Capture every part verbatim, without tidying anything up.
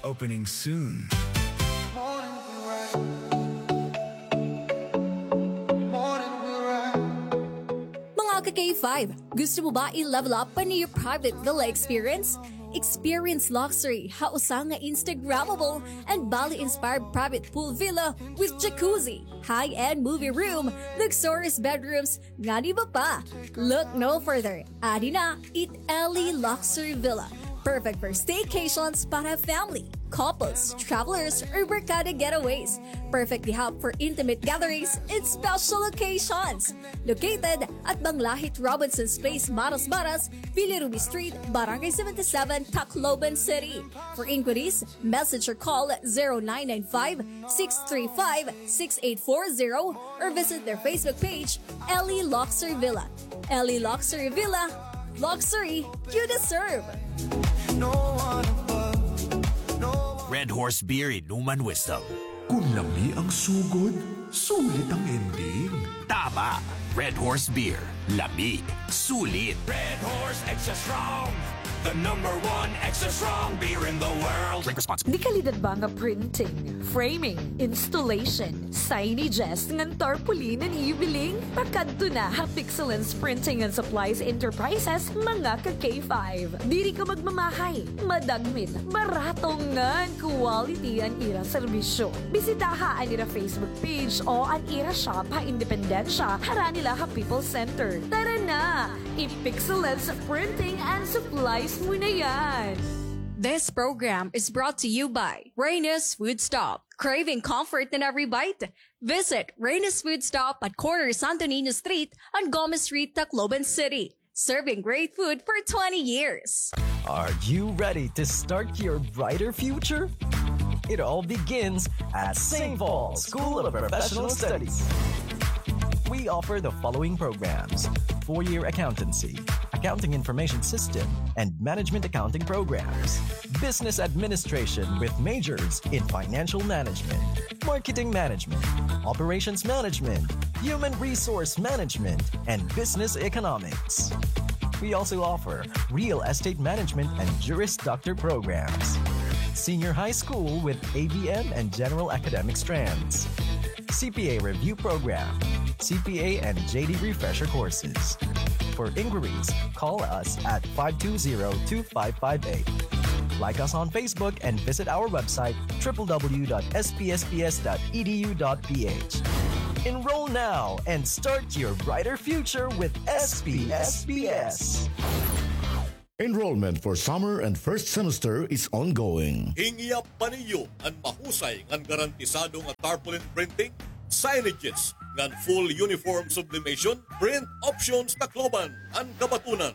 Opening soon. Mga ka-K five, gusto mo ba i-level up pa an iyo private villa experience? Experience luxury ha usa nga Instagrammable and Bali-inspired private pool villa with jacuzzi, high-end movie room, luxurious bedrooms, ngan iba pa. Look no further. Adi na it Ellie Luxury Villa. Perfect for staycations para family, couples, travelers, or barkada getaways. Perfect di hap for intimate gatherings and special occasions. Located at Banglahit Robinson's Place, Maras Maras, Villa Ruby Street, Barangay seventy-seven, Tacloban City. For inquiries, message or call zero nine nine five, six three five, six eight four zero or visit their Facebook page, Ellie Luxury Villa. Ellie Luxury Villa, luxury you deserve. Red Horse Beer Inuman Wisdom. Kun lami ang sugod, sulit ang ending. Tama! Red Horse Beer. Lami. Sulit. Red Horse Extra Strong. The number one extra strong beer in the world. Drink responsibly. Dekalidad ba nga printing, framing, installation, signages ngan tarpaulin an iyo biling? Pakadto na ha Pixelens Printing and Supplies Enterprises, mga ka-K five. Diri ka magmamahay, madagmit, barato ngan quality an ira serbisyo. Bisitaha an ira Facebook page o an ira shop ha Independencia, harani la ha People's Center. Tara na! I-Pixelens Printing and Supplies mo na yan! This program is brought to you by Reyna's Food Stop. Craving comfort in every bite? Visit Reyna's Food Stop at corner Santo Niño Street and Gomez Street, Tacloban City. Serving great food for twenty years. Are you ready to start your brighter future? It all begins at Saint Paul School of Professional Studies. We offer the following programs: four-year accountancy, accounting information system, and management accounting programs, business administration with majors in financial management, marketing management, operations management, human resource management, and business economics. We also offer real estate management and Juris Doctor programs, senior high school with A B M and general academic strands, C P A review program, C P A and J D refresher courses. For inquiries, call us at five two zero, two five five eight. Like us on Facebook and visit our website, triple W dot S P S P S dot E D U dot P H. Enroll now and start your brighter future with S P S P S. Enrollment for summer and first semester is ongoing. Hingyap pa niyo an mahusay ngan garantisado nga tarpaulin printing, signages, ngan full uniform sublimation? Print Options Tacloban an kabatunan.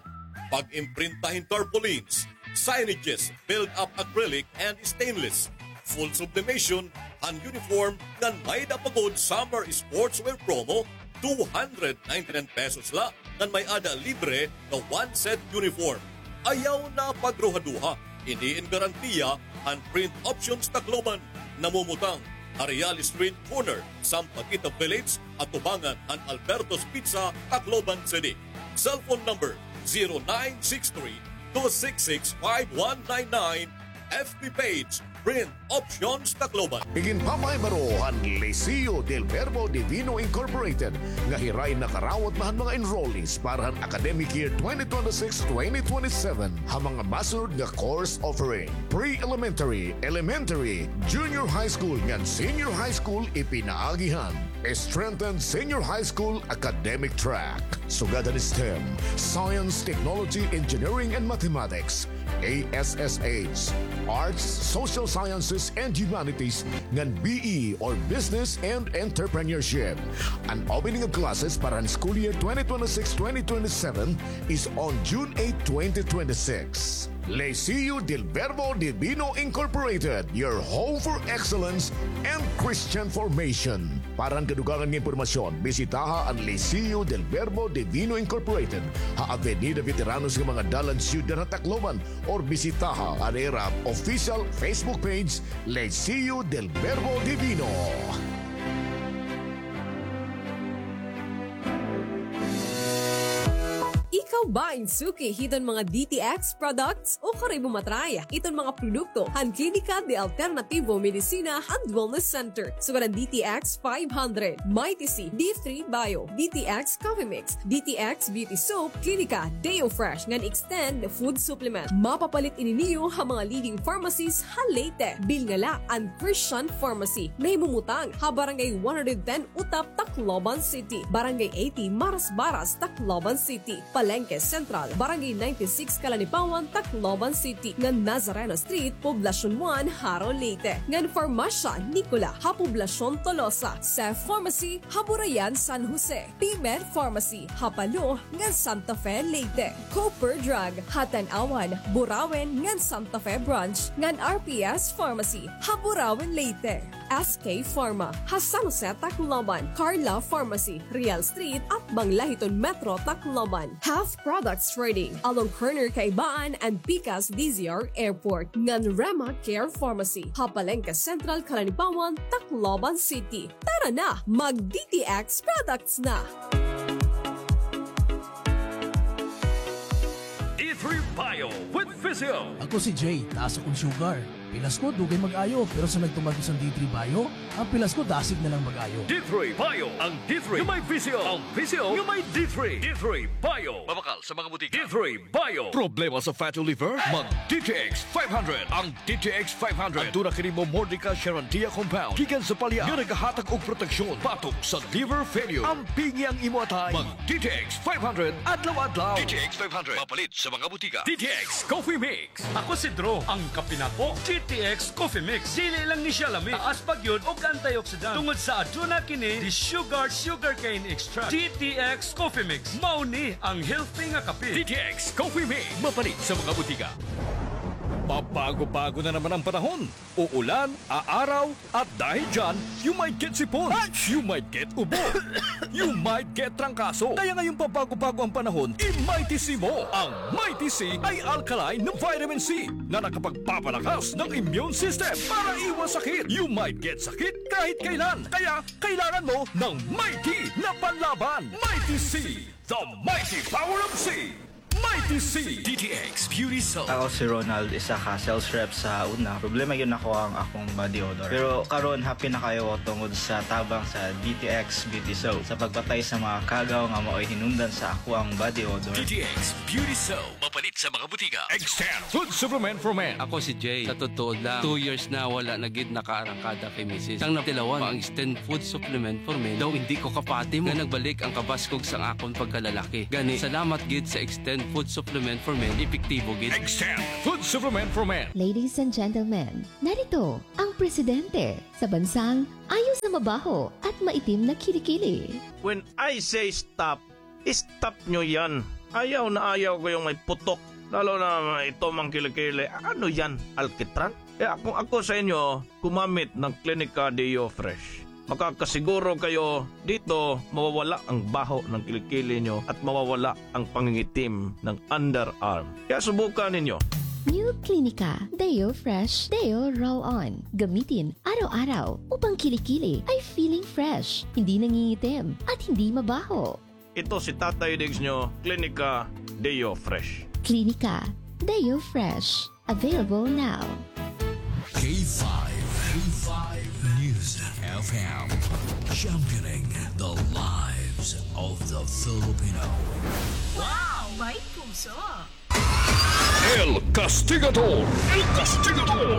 Pag-imprinta hin tarpaulins, signages, build-up acrylic and stainless, full sublimation han uniform, ngan may-ada pa gud summer sportswear promo, two hundred ninety-nine pesos la, ngan may-ada libre nga one set uniform. Ayaw na pagruhaduha, ini in garantiya han Print Options Tacloban, namumutang ha Real Street, corner Sampaguita Village, atubangan han Alberto's Pizza, Tacloban City. Cellphone number, zero nine six three, two six six, five one nine nine. F B page, Print Options Tacloban. Iginpapahibaro han Liceo del Verbo Divino Incorporated nga hiray nakarawat na han mga enrollees para han academic year twenty twenty-six, twenty twenty-seven ha mga masunod nga course offering: pre-elementary, elementary, junior high school ngan senior high school ipinaagi han strengthened senior high school academic track. Sugad han STEM, Science, Technology, Engineering, and Mathematics, A S S H, Arts, Social Sciences, and Humanities, ngan B E or Business and Entrepreneurship. An opening of classes para han school year twenty twenty-six, twenty twenty-seven is on June eight, twenty twenty-six. Liceo del Verbo Divino Incorporated, your home for excellence and Christian formation. Para han kadugangan nga impormasyon, bisitaha an Liceo del Verbo Divino Incorporated ha Avenida Veteranos nga mga dalan syudad ha Tacloban, or bisitaha an ira official Facebook page, Liceo del Verbo Divino. Ikaw Bain suki hiton mga D T X products o karibo matray iton mga produkto han Klinika de Alternativo Medicina and Wellness Center. Sugad an D T X five hundred, Mighty C, D three Bio, D T X Coffee Mix, D T X Beauty Soap, Klinika Deo Fresh ngan Extend Food Supplement. Mapapalit ini niyo ha mga leading pharmacies ha Leyte. Bilnga la an Christian Pharmacy. Nahimumutang ha Barangay one hundred ten Utap, Tacloban City, Barangay eighty Marasbaras, Tacloban City, Palengke Central, Barangay ninety-six Calanipawan, Tacloban City, ngan Nazareno Street, Poblacion one, Jaro, Leyte, ngan Farmasya Nicola ha Poblacion Tolosa, Cef Pharmacy ha Burayan, San Jose, P-Med Pharmacy ha Palo ngan Santa Fe, Leyte, Cooper Drug ha Tanauan, Burauen ngan Santa Fe Branch, ngan R P S Pharmacy ha Burauen, Leyte. S K Pharma ha San Jose, Tacloban, Carla Pharmacy, Real Street, atbang la hiton Metro Tacloban, Half Products Trading, along corner Kaibaan and Pikas D Z R Airport, ngan Rema Care Pharmacy ha Palengke Central, Calanipawan, Tacloban City. Tara na, mag D T X products na! D three Bio with Physio. Ako si Jay, taas akong sugar. Pilas ko, dugay mag-ayo, pero sa nagtuman ko sa D three Bio, ang pilas ko, dasig na lang mag-ayo. D three Bio, ang D three nga may Physio, ang Physio nga may D three. D three Bio. Mabakal sa mga butika. D three Bio. Problema sa fatty liver? Mag D T X five hundred. Ang D T X five hundred. Aduna kini Momordica Charandia compound gikan sa palya nga nagahatag og proteksyon batok sa liver failure. Ampingi ang imo atay. Mag D T X five hundred adlaw-adlaw. D T X five hundred. Mapalit sa mga butika. D T X Coffee Mix. Ako si Drew, ang kape nako, D T X Coffee Mix. Dili lang ni siya lami, taas pa gyud og antioxidant tungod sa aduna kini di sugar, sugarcane extract. D T X Coffee Mix, mao ni ang healthy nga kape. D T X Coffee Mix, mapalit sa mga butika. Pabago-bago na naman ang panahon. Uulan, aaraw, at dahil dyan, you might get sipon, you might get ubo, you might get trangkaso. Kaya ngayong pabago-bago ang panahon, i-Mighty C mo. Ang Mighty C ay alkaline na vitamin C na nakapagpapalakas ng immune system para iwas sakit. You might get sakit kahit kailan. Kaya kailangan mo ng Mighty na panlaban. Mighty C, the mighty power of C. Mighty C. D T X Beauty Soap. Ako si Ronald, isa ka sales rep sa una. Problema gyud nako ang akong body odor. Pero karon, happy na kaayo ako tungod sa tabang sa D T X Beauty Soap sa pagpatay sa mga kagaw nga maoy hinungdan sa akoang body odor. D T X Beauty Soap. Mapalit sa mga butika. Extend Food Supplement for Men. Ako si Jay. Sa totoo lang, two years na wala na gid nakaarangkada kay misis. Sang natilawan, ang Extend Food Supplement for Men daw indi ko kapati mo. Nga nagbalik ang kabaskog sang akon pagkalalaki. Gani, salamat gid sa Extend Food Supplement for Men, epektibo gid. Extend Food Supplement for Men. Ladies and gentlemen, narito ang presidente sa bansang ayos na mabaho at maitim na kilikili. When I say stop, stop nyo yan. Ayaw na ayaw ko yung may putok. Lalo na ito mang kilikili. Ano yan? Alkitran? Kaya kung ako sa inyo, gumamit ng Klinika Deo Fresh. Makakasiguro kayo dito mawawala ang baho ng kilikili nyo at mawawala ang pangingitim ng underarm. Kaya subukan ninyo. New Klinika Deo Fresh Deo Roll On. Gamitin araw-araw upang kilikili ay feeling fresh, hindi nangingitim, at hindi mabaho. Ito si Tatay Diggs nyo, Klinika Deo Fresh. Klinika Deo Fresh. Available now. K five, K five News F M, championing the lives of the Filipino. Wow! May puso! El Castigador! El Castigador!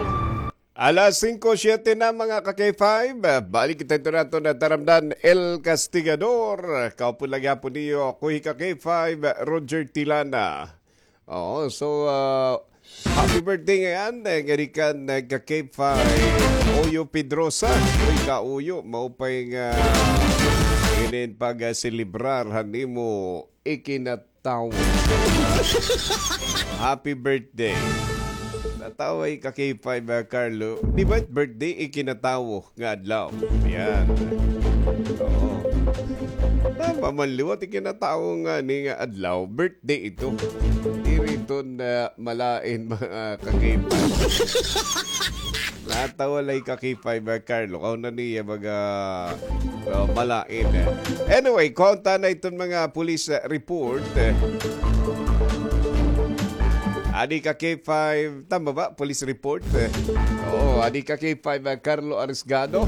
Alas singko siyete na, mga ka-K five. Balik kita ito nato na taramdan, El Castigador. Kaupo lagi hapon niyo, ako hi ka-K five, Roger Tilana. Oo, so, ah, happy birthday ngayan, eh, nga gikan, eh, ka-K five, Uyo Pedrosa. Uy, ka-Uyo, maupay nga inin pag-selebrar han imo ikinat- tawo. Happy birthday. Nataway ka kay Five, ah, Carlo. Di ba birthday ikinatawo nga adlaw? Yan. Oo. Tama man liwat ikinatawo nga ni nga adlaw. Birthday ito. Diri ito na malain, mga kakay. Natawa lay ka kay Five, ah, Carlo. Kaw na niya baga, ah, malain, eh. Anyway, konta na iton mga police, ah, report, eh. Adi ka K five, tama ba? Police report? Eh, oo, adi ka K five, ah, Carlo Arisgado.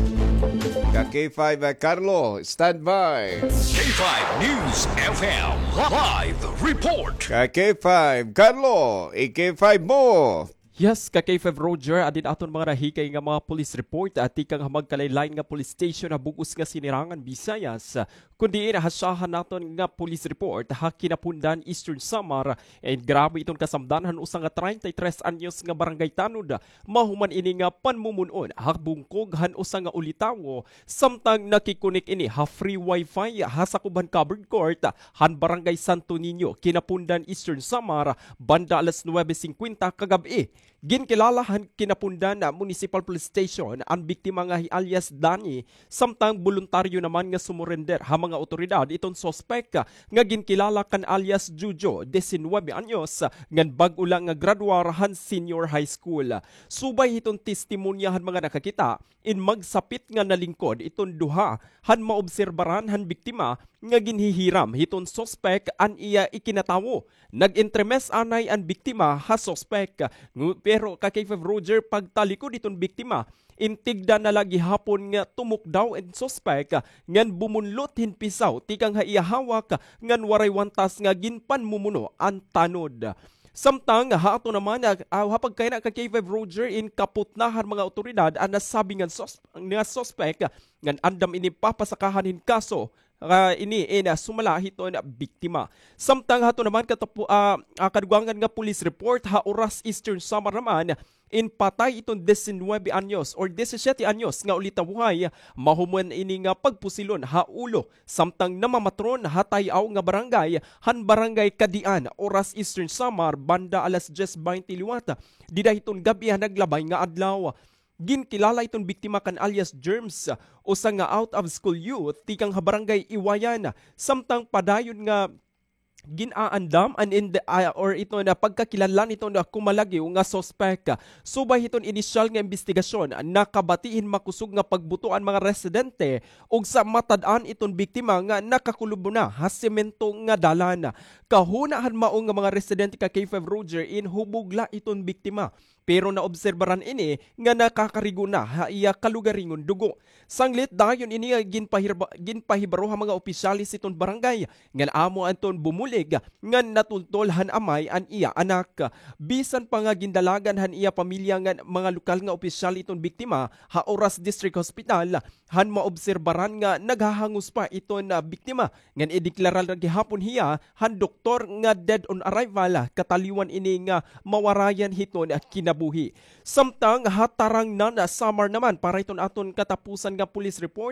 Ka K five, ah, Carlo, standby. K five News F M live report. Ka K five, Carlo, i-K five mo. Yes, ka K five Roger, adin aton mga nahikay nga mga police report, ah, tikang ha magkalain-lain nga police station ha bug-os nga Sinirangan, Visayas. Kundi inahasyahan naton nga police report ha Kinapundan, Eastern Samar, and grabe iton kasamdan han usa nga treinta y tres anyos nga barangay tanod. Mahuman ini nga panmumon-on ha bungkog han usa nga ulitawo, samtang nakikonek ini ha free wifi ha sakob han covered court han Barangay Santo Niño, Kinapundan, Eastern Samar, banda alas nuwebe singkwenta kagab-i. Ginkilala han Kinapundan Municipal Police Station an biktima nga hi alias Danny, samtang boluntaryo naman nga sumurender ha mga awtoridad iton suspek nga ginkilala kan alias Jojo, disinwebe anyos, ngan bag-o la nga graduar han senior high school. Subay hiton testimonya han mga nakakita, in magsapit nga nalingkod iton duha han maobserbaran han biktima nga ginhihiram hiton suspek an iya ikinatawo. Nag-entremes anay an biktima ha suspek. Ngu-, pero ka K five Roger, pagtalikod hiton biktima, in tigda na la gihapon nga tumukdaw in suspek ngan bumunlot hin pisaw tikang ha iya hawak ngan waray wantas nga ginpanmumuno an tanod. Samtang ha ato naman, ah, ha pagkayana ka K five Roger, in kaputna han mga awtoridad an nasabi nga sus-, nga suspek ngan andam ini papasakahan hin kaso, ah, ini in, ah, sumala hiton biktima. Samtang ha ato naman katapu-, ah, ah, kadugangan nga police report ha Oras, Eastern Samar naman, in patay iton disinwebe anyos or disisiyete anyos nga ulitawohay, mahuman ini nga pagpusilon ha ulo samtang namamatron ha tay-aw nga barangay, han Barangay Kadian, Oras, Eastern Samar, banda alas dyes baynte liwat dida hiton gab-i han naglabay nga adlaw. Ginkilala iton biktima kan alias Germs, usa nga out-of-school youth tikang ha Barangay Iwayan, samtang padayon nga gin-aandam an ind-, ah, or iton pagkakilanlan hiton kumalagyo nga suspek. Subay hiton inisyal nga imbestigasyon, nakabati hin makusog nga pagbuto an mga residente ug sa matad-an iton biktima nga nakakulub na ha semento nga dalan. Kahuna han mao nga mga residente ka K five Roger, in hubog la iton biktima. Pero naobserbaran ini nga nakakarigo na ha iya kalugaringon dugo. Sanglit dayon ini nga ginpahirba-, ginpahibaro ha mga opisyales hiton barangay ngan amo anton bumulig ngan natultol han amay an iya anak. Bisan pa nga gindalagan han iya pamilya ngan mga lokal nga opisyal iton biktima ha Oras District Hospital, han maobserbaran nga naghahangos pa iton biktima ngan ideklara na gihapon hiya han doktor nga dead on arrival, kataliwan ini nga mawarayan hiton kinabuhi. Samtang ha Tarangnan, Samar naman, para iton aton katapusan nga police report,